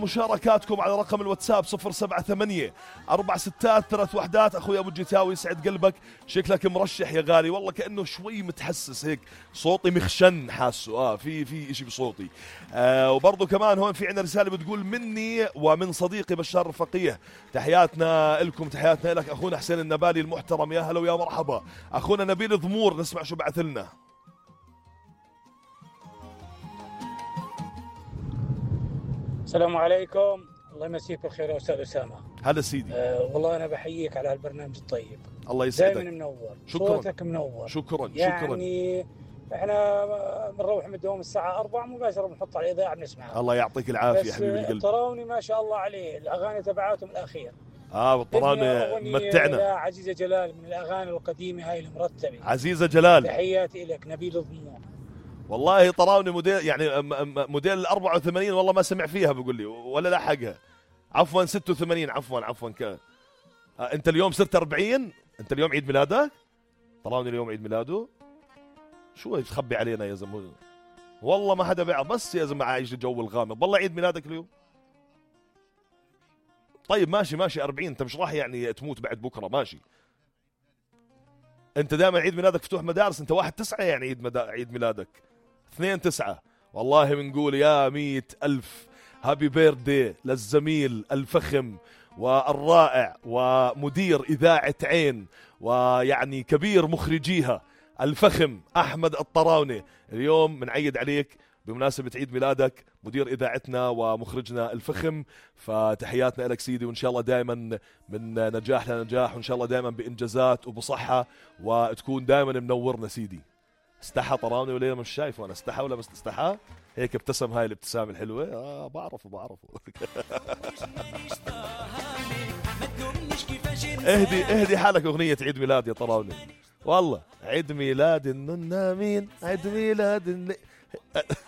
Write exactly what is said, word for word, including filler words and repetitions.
مشاركاتكم على رقم الواتساب صفر سبعة ثمانية أربع ستات ثلاث وحدات. أخوي أبو الجتاوي يسعد قلبك، شكلك مرشح يا غالي، والله كأنه شوي متحسس هيك، صوتي مخشن حاسه آه في في إشي بصوتي. آه وبرضه كمان هون في عنا رسالة بتقول مني ومن صديقي بشار الفقيه، تحياتنا لكم، تحياتنا لك أخونا حسين النبالي المحترم، يا هلا ويا مرحبا. أخونا نبيل ضمور نسمع شو بعث لنا. السلام عليكم، الله يمسيك بالخير يا استاذ اسامه. هلا سيدي. أه والله انا بحييك على هالبرنامج الطيب، الله يسعدك، دائما منور، شكرا. صوتك منور، شكرا يعني شكرا. يعني احنا بنروح من الدوام الساعه أربعة مباشره بنحط على الاذاعه بنسمعها. الله يعطيك العافيه حبيبي القلب. الطراوني ما شاء الله عليه، الاغاني تبعاتهم الاخير اه والطراوني متعنا. عزيزه جلال من الاغاني القديمه هاي المرتبه. عزيزه جلال تحياتي لك. نبيل الضمور والله طراوني موديل يعني موديل ال أربعة وثمانين، والله ما سمع فيها بقول لي ولا لحقها. عفوا ستة وثمانين، عفوا عفوا ك... آه انت اليوم صرت أربعين، انت اليوم عيد ميلادك؟ طراوني اليوم عيد ميلاده؟ شو تخبي علينا يا زلمه؟ والله ما حدا بيعرف، بس يا زلمه عايش الجو الغامض. والله عيد ميلادك اليوم؟ طيب ماشي ماشي أربعين، انت مش راح يعني تموت بعد بكره، ماشي. انت دائما عيد ميلادك فتوح مدارس، انت واحد تسعة يعني عيد مدا... عيد ميلادك اثنين تسعة. والله بنقول يا مية ألف هابي بيردي للزميل الفخم والرائع ومدير إذاعة عين ويعني كبير مخرجيها الفخم أحمد الطراوني. اليوم بنعيد عليك بمناسبة عيد ميلادك، مدير إذاعتنا ومخرجنا الفخم، فتحياتنا لك سيدي، وإن شاء الله دائما من نجاح لنجاح، وإن شاء الله دائما بإنجازات وبصحة، وتكون دائما منورنا سيدي. استحى طراوني ولا مش شايفه انا؟ استحى ولا مش استحى؟ هيك ابتسم، هاي الابتسامه الحلوه. اه بعرفه بعرفه. اهدي اهدي حالك اغنيه عيد ميلاد يا طراوني، والله عيد ميلاد النونامين، عيد ميلاد